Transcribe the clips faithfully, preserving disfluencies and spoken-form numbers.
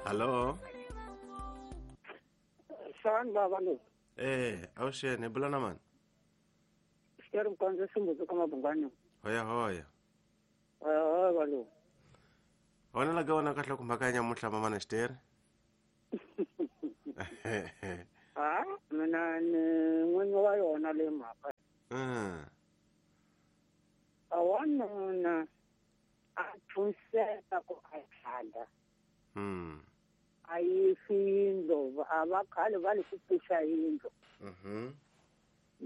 Hallo. San baba lo. Eh, awushene bulana man. Sikere mkwanza simbuzo kama bungano. Hoya hoya. Hoya hoya balo. Wona la gawana ka hloko makanya muhla mama na Xitere. Ah, mina ni n'winyi wa yona le mhaka. Mm. A wanuna a thunseka ku a tlhanda. Mm. A yisi yindlu a va khale va le ku pfuxa yindlu. Mhm.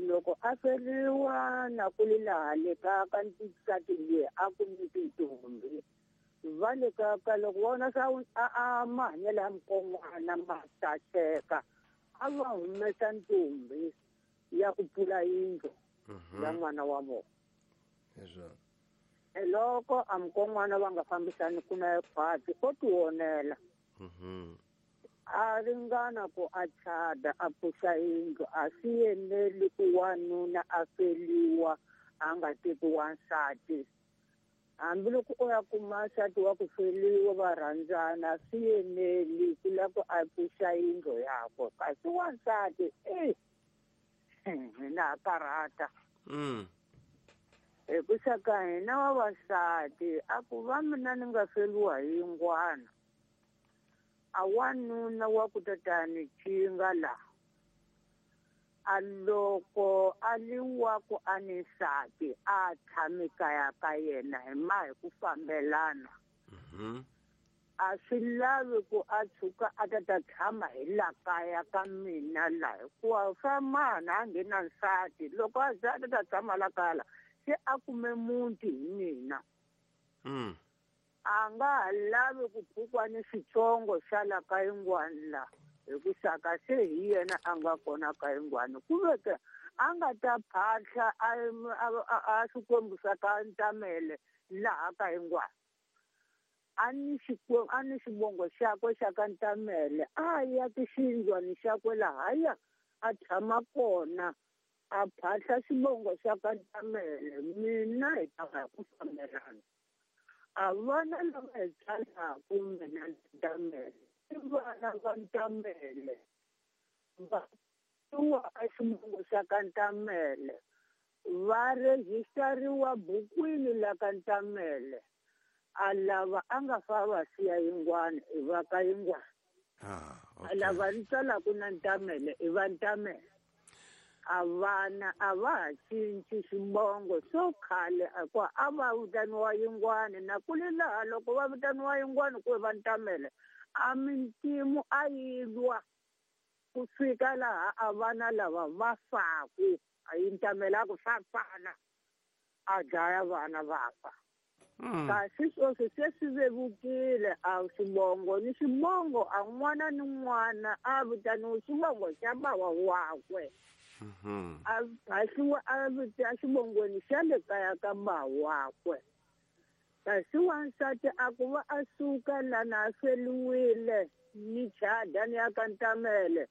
Loko a feriwa na ku li laha le ka ka nsati liya a ku ni tintombi. Va le ka ka loko vona swa a a mahanyelo ya mukon'wana ma saseka a va humesa ntombi ya ku pfula yindlu ya n'wana wa vona. Hezwo. Loko a mukon'wana va nga fambisani ku na khwati o tionela. Mhm. A ringana ku a chada a pfuxa yindlu a swi eneli ku wanuna a feliwa a nga teki wansati. Hambiloko o ya kuma nsati wa ku feliwa va rhandzana swi eneli ku lava ku a pfuxa yindlu yakwe kasi wansati e hina ha karhata. Mm. Hi ku saka hina vavasati a ku va mina ni nga feliwa hi yingwana a wanuna wa ku tatani chinga la a loko a li wa ku a ni nsati a tshami kaya ka yena hi ma hi ku fambelana. Mhm. A swi lavi ku a tshuka a ta ta tshama hi la kaya ka mina la hikuva swa mana a nge na nsati loko a za a ta ta tshama la kaya la se a kume muti hi mina. Mm. A nga ha lavi ku pfukwa ni xitsongo xa la ka yingwani la hi ku saka se hi yena a nga kona ka yingwani ku veke a nga ta phahla a a xikwembu xa ka Ntamele laha ka yingwani a ni xikwembu a ni xivongo xakwe xa ka Ntamele a ya ki xindlwani xakwe lahaya a tshama kona a phahla xivongo xa ka Ntamele mina hi ta va hi ku fambelana. A vana lava hi tsalaku mina Ntamele i vana va Ntamele va tiwa a xivongo xa ka Ntamele va rejistariwa bukwini la ka Ntamele a lava a nga fa va siya yingwani i va ka yingwani. Ah, a lava ni tsalaku na Ntamele i va Ntamele. A vana a va ha cinci xivongo swo khale hikuva a va vitaniwa yingwani na ku li laha loko va vitaniwa yingwani ku va Ntamele a mintimu a yi lwa ku fika laha a vana lava va faku a yi Ntamele a ku swa fana a dlaya vana va fa. Kasi sweswi se swi vevukile a xivongo ni xivongo a n'wana ni n'wana a vitaniwa xivongo xa bava wakwe. Mhm. A phahliwa a vita xivongweni xa le kaya ka bava wakwe. Kasi wansati a ku va a suka lana a feliwile ni chada ni ya ka Ntamele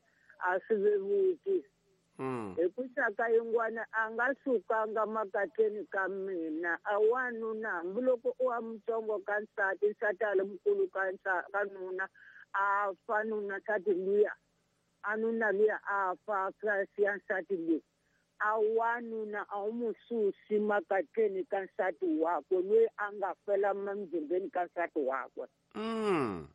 a swi vevuki. Mm. Hi ku saka yingwana a nga sukanga makatleni ka mina a wanuna hambiloko u wa mutsongo ka nsati nsati a li mukulu ka ka nuna a fa nuna nsati luya a nuna luya a fa a siya nsati luya a wanuna a wu mu susi makatleni ka nsati wakwe loyi a nga fela emzimbeni ka nsati wakwe. Mm.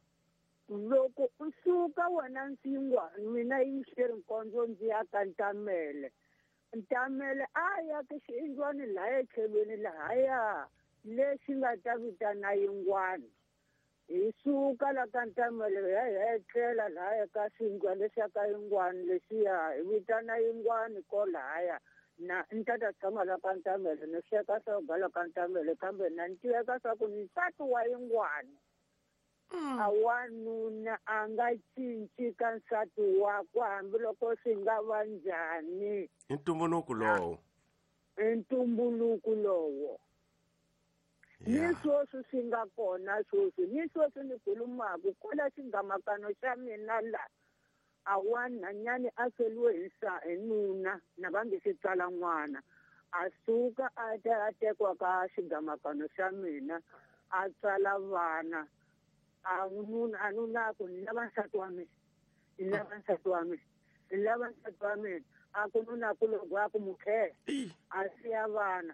Loko u suka wena nsingwa mina yi Xitere Nkondzo ndzi ya ka Ntamele Ntamele a ya ka xindlwani laha etlhelweni lahaya lexi nga ta vitana yingwani hi suka la ka Ntamele hi ya hi ya etlela lahaya ka xindlwani lexiya ka yingwani lexiya hi vitana yingwani ko lahaya na ni ta ta tshama la ka Ntamele ni sweka swo la ka Ntamele kambe na ni tiveka swa ku ni nsati wa yingwani. A wanuna a nga cinci ka nsati wakwe hambiloko swi nga va njhani. I ntumbuluko lowo. I ntumbuluko lowo. Ni sweswi swi nga kona sweswi ni sweswi ni khulumaku kwala xingamakano xa mina la a wanhanyani a feliwe hi hi nuna na va nge se tswala n'wana a suka a ta a tekiwa ka xigamakano xa mina a tswala vana. A nuna a nuna ku ni lava nsati wa mina ni lava nsati wa mina ni lava nsati wa mina a ku nuna ku loko a ku mukhela a siya vana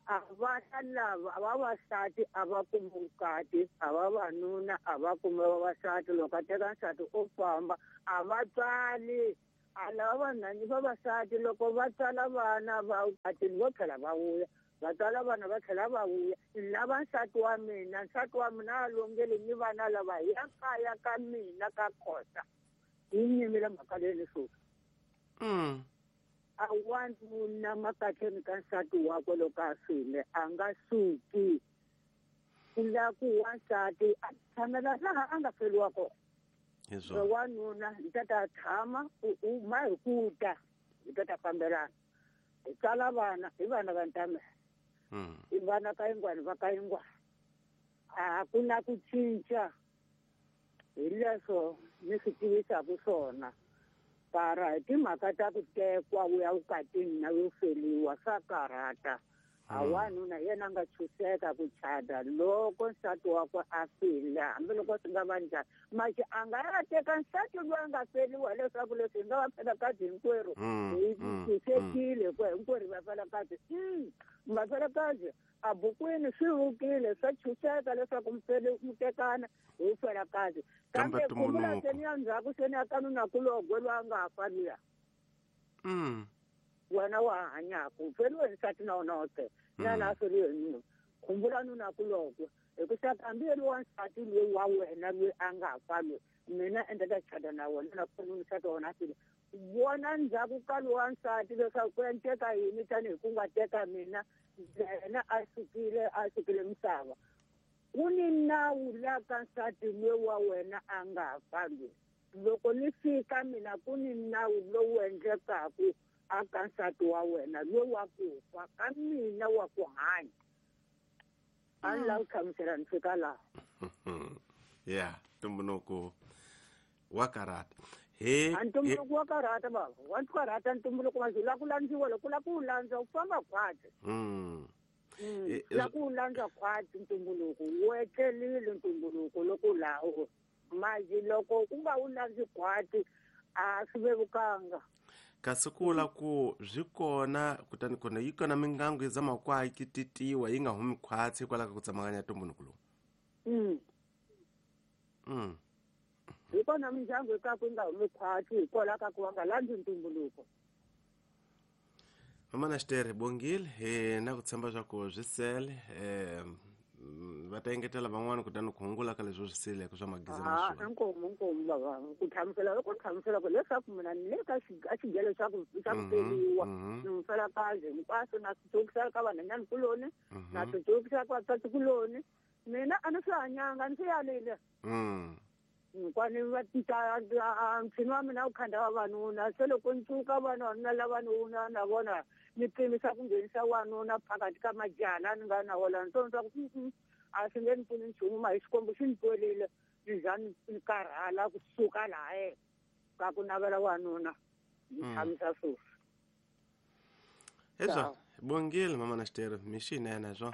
a vana lava vavasati a va kumi vukati a vavanuna a va kumi vavasati loko a teka nsati o famba a va tswali a lava vanhani vavasati loko va tswala vana va vukatini vo tlhela va vuya va tswala vana va tlhela va vuya lava nsati wa mina nsati wa mina a longeli ni vana lava hi ya kaya ka mina ka Khosa yi nyimile mhaka leyi ni suka mm. A wanuna makatleni ka nsati wakwe loko a file a nga suki ku la ku wansati a tshamela laha a nga feriwa kona wanuna hi ta ta tshama u ma hi ku ta hi ta ta fambelana hi tsala vana hi vana va ntamela hi vana ka yingwani va ka yingwani a ku na ku cinca hi leswo ni swi tivisaka swona para hi timhaka ta ku tekwa u ya vukatini na yo feliwa swa karhata a wanuna yena a nga tshuseka ku chada loko nsati wakwe a file hambiloko swi nga va njhani maxi a nga ya teka nsati loyi a nga feliwa leswaku leswi hi nga va felakazi hinkwerhu hi tshunxekile hikuva hinkwerhu hi vafelakazi vafelakazi a bukwini swi vukile swa tshunxeka leswaku mi tekana hi felakazi kambe khumbula seni ya ndzhaku seni ya kanunakulogwe loyi a nga ha fa luya wena wa hanyaka feriwe hi nsati na wona wote na na feriwe hi nuna khumbula nunakulogwe hi ku xaka hambi yeli wa nsati loyi wa wena loyi a nga fa loyi mina endla ta chada na wena na kona nsati wa wena a file vona ndzhaku ka lowa nsati leswaku ku endleka yini tanihi ku nga teka mina yena a sukile a sukile misava ku ni nawu la ka nsati loyi wa wena a nga fa loyi loko ni fika mina ku ni nawu lowu endlekaku a ka nsati wa wena loyi wa ku fa ka mina wa ku hanya a ni lava ku hlamusela ni fika laha ya ntumbuluko wa karata he a ntumbuluko wa karata baba wa karata ntumbuluko wa la ku landziwa loko la ku landza u famba khwatsi la ku landza khwatsi ntumbuluko wu etlelile ntumbuluko loko lawo maji loko u nga wu landzi khwatsi a swi vevukanga kasi ku la ku byi kona kutani kona yi kona mingangu yi zama ku ki titiwa yi nga humi khwatsi hikwalaho ka ku tsemakanya ntumbuluko lowu mm. mm. Hi kona mindyangu ka ku nga humi khwatsi hikwalaho ka ku va nga landzi ntumbuluko mama na xitere bongile hi na ku tshemba swa ku swi sele um va ta engetela van'wani kutani ku hungula ka leswi swi sileke swa magiza ma inkomu inkomu baba ku hlamusela loko hlamusela ku leswaku mina ni le ka xigelo xa ku xa ku feriwa ni mufelakazi hinkwaswo na swi tsokisela ka vanhanyani kuloni na swi tsokisela ka vasati kuloni mina a ni swi hanyanga ni swi yalile kwani va ntshini wa mina wu khanda vavanuna se loko ni cuka vanuna lavanuna na vona ni pimisa ku nghenisa wanuna phakathi ka majaha ni nga na wona ni swa ku a swi nge ni pfuni nchumu ma hi Xikwembu xi ni twerile ni za ni karhala kusuka laha ka ku navela wanuna ni tshamisa sweswi hezwa bongile mama na xitere mi xinene swo